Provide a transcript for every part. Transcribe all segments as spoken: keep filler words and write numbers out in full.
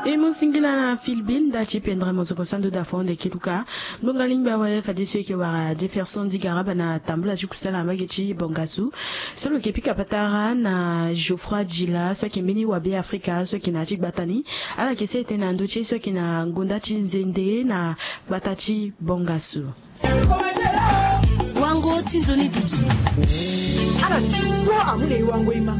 E mu singila na filbil nda ti pendere mosoko sando da fond eke luka. Ngbonga lingba awe fadeso eke wara Jefferson Digaraba na tambula ti kusala na mbage ti Bongasu. So lo yeke pika patara na Geoffroy Dila so ayeke mbeni wabe Afrika so ayeke na ya ti gbata ni. Ala yeke sara etene na ndö ti e so ayeke na ngonda ti nzende na gbata ti Bongasu. Wango ti nzoni duti. Ala ti kua amu na e wango e ma.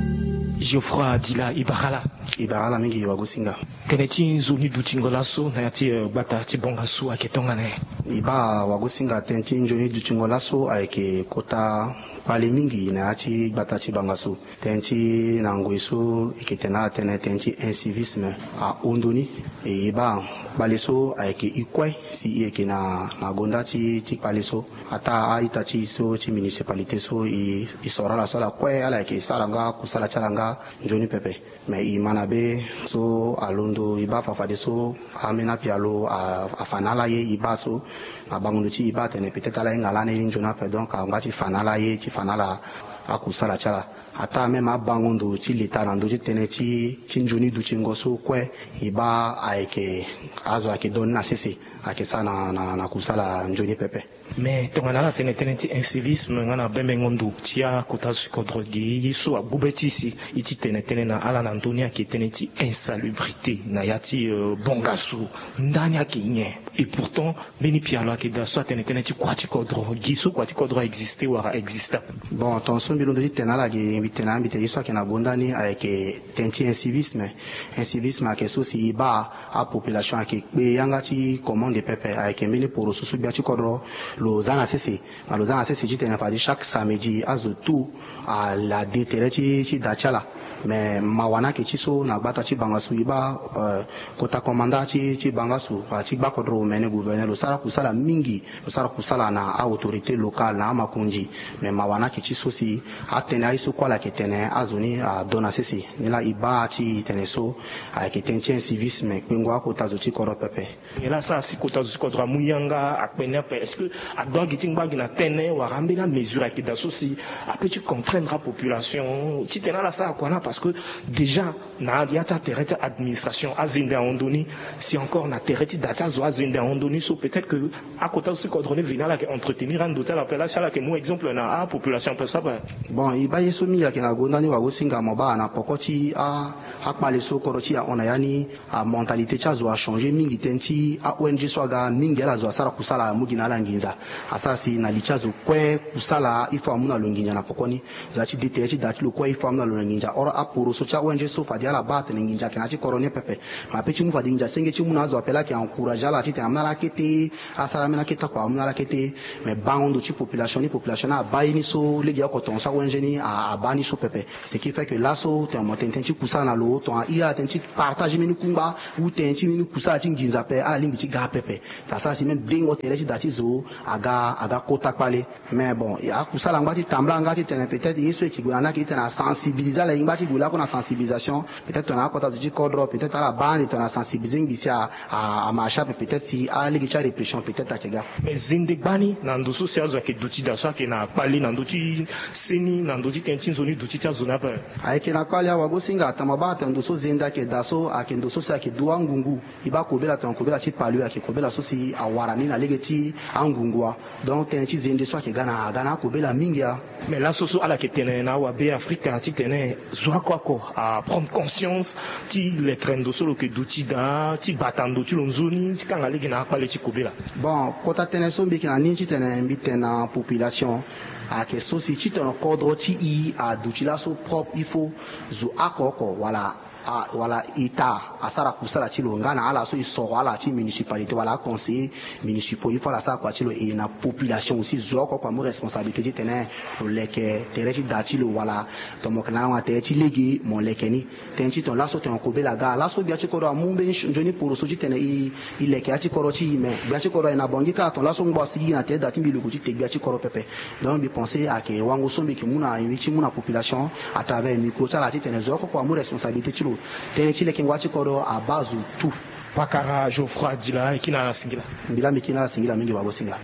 Geoffroy Dila, e bara ala. E bara ala mingi wagosinga. Tënë ti nzoni dutingo laso na ya ti, eh, gbata ti Bongasu ayeke tongana nyen? E baa wagosinga, tënë ti nzoni dutingo laso ayeke kota kpale mingi na ya ti gbata ti Bongasu. Tënë ti na ngoi so e yeke tene ala tënë, tënë ti incivisme ahon ndoni. E baa kpale so ayeke e kue si e yeke na, na gonda ti, ti kpale so. Ataa a-ita ti e so ti municipalité so e, e soro ala so ala kue ala yeke sara nga kusala ti ala nga nzoni pepe. Me e ma na be so alondo e baa fa fadeso amena pialo a, afa na ala ye e baa so. Na bango ndo ti e baa atene peut-être ala hinga lani ni nzoni ape, donc angba ti fa na ala ye ti fa na ala akusala ti ala. Ataa même abango ndo ti leta na ndö ti tënë ti, ti nzoni dutingo so kue e baa ayeke, azo ayeke donné na sese, ayeke sara na, na, na kusala nzoni pepe. Mais tongana ala tene tënë ti incivisme nga na bembengo ndo ti akota zo ti kodro gi ye so agbu be ti e si e ti tene tënë na ala na ndö ni ayeke tënë ti insalubrité na ya ti, euh, Bongasu. Ndani ayeke nyen? Et pourtant mbeni pialo ayeke daa so atene tënë ti kua ti kodro, gi so kua ti kodro a existe wala exista. Bon, tonga so mbi londo ti tene na ala gi, mbi tene na ala, mbi tene ye so ayeke na gonda ni ayeke tënë ti incivisme. Incivisme ayeke so si e baa apopulation ayeke kpe yanga ti commande pepe, ayeke mbeni poroso so gbia ti kodro lo za na sese. Ma lo za na sese titene fade chaque samedi azo tout ala de tere ti, ti da ti ala. Me mawa ni ayeke ti so na gbata ti Bongasu e baa, euh, kota komanda ti, ti Bongasu wala ti gbakodro omene gouverneur lo sara kusala mingi. Lo sara kusala na a-autorité locale na amakonzi. Me mawa ni ayeke ti so si atënë aye so kue ala yeke tene azo ni ado na sese. Nilaa e baa ti e tene so ayeke tënë ti incivisme kpengo akota zo ti kodro pepe. Nyen la asara si kota zo ti kodro amu yanga akpene ape? Est-ce que adoit gi ti ngba gi na tënë wala ambeni amesure ayeke daa so si apeut ti contraindre apopulation titene ala sara kua na? Parce que déjà na ya ti atere ti administration azende ahon ndoni, si encore na tere ti da ti azo azende ahon ndoni so peut-être que akota zo ti kodro ni veni ala yeke entretenir ando ti ala ape. La si ala yeke mu exemple na apopulation ape so ape. Bon, e baa ye so mingi ayeke na gonda ni wagosinga, mo baa na poko ti a, akpale so kodro ti e ahon na ya ni, amentalité ti azo achanger mingi. Tënë ti a-O N G so aga mingi ala zo asara kusala amu gi na ala nginza. Asara si na li ti azo kue kusala il faut amu na lo nginza na poko ni. Zo ya ti de tere ti da ti lo kue il faut amu na lo na nginza. Or aporoso ti a-O N G so fade ala baa atene nginza ayeke na ya ti kodro ni pepe. Ma apeut ti mu fade nginza senge ti mu na azo ape la ayeke encourager ala titene amu na ala kete, asara ambeni akete oko amu na ala kete. Me bango ndo ti population ni, population ni abaa ye ni so legeoko tonga so a-O N G ni a, abaa ni so pepe. Ce qui fait que laso tongana mo tene tënë ti kusala na lo, tongana iri ala tënë ti partage mbeni kungba ou tënë ti mbeni kusala ti nginza ape, ala lingbi ti ga pepe. Asara si même dengo tere ti da ti zo aga, aga kota kpale. Mais bon, akusala angba ti tambula nga titene peut-être ye so e yeke gue na ni ayeke titene asensibiliser ala, e ngba ti gue lakue na sensibilisation. Peut-être tongana akota zo ti kodro peut-être ala baa ande tongana sensibiliser ngbi si a, a, amarche ape peut-être si alege ti arépression peut-être ayeke ga. Mais zende gbani na ndo so si azo ayeke duti daa so ayeke na kpale na ndö ti seni na ndö ti tënë ti nzoni duti ti azo ni ape. Ayeke na kpale awagosinga, tongana mo baa atene ndo so zende ayeke daa so ayeke ndo so si ayeke du angungu. E baa kobela tongana kobela ti palu ayeke kobela so si awara ni na lege ti angungu wa. Donc tënë ti zende so ayeke ga na, aga na akobela mingi a. Mais laso so ala yeke tene na awabe Afrika titene zo oko oko aprendre conscience ti lekere ndo so lo yeke duti daa ti bata ndo ti lo nzoni ti kanga lege na akpale ti kobela. Bon, kota tënë so mbi yeke na ni titene mbi tene na population ayeke so si titene kodro ti e aduti laso propre, il faut zo oko oko wala a, wala État asara kusala ti lo nga na ala so e soro ala ti municipalité wala aconseiller municipaux, il faut ala sara kua ti lo. E na population aussi zo oko oko amu responsabilité titene lo leke tere ti da ti lo wala tongana mo yeke na lango na tere ti lege mo leke ni. Tënë ti tongana laso tongana kobela aga laso gbia ti kodro amu mbeni nzoni poroso titene e, e leke ya ti kodro ti e. Mais gbia ti kodro aye na Bangui kâ tongana laso ngbo asi gigi na tere ti da ti mbi lo yeke ti te gbia ti kodro pepe. Donc mbi pense ayeke wango so mbi yeke mu na, mbi ti mu na population à travers micro ti ala titene zo oko oko amu responsabilité ti lo. Tënë ti lekengo ya ti kodro abaa zo tout. Pakara Geoffroy Dila, e kiri na ala singila. Mbi laa mbi kiri na ala singila mingi wagosinga.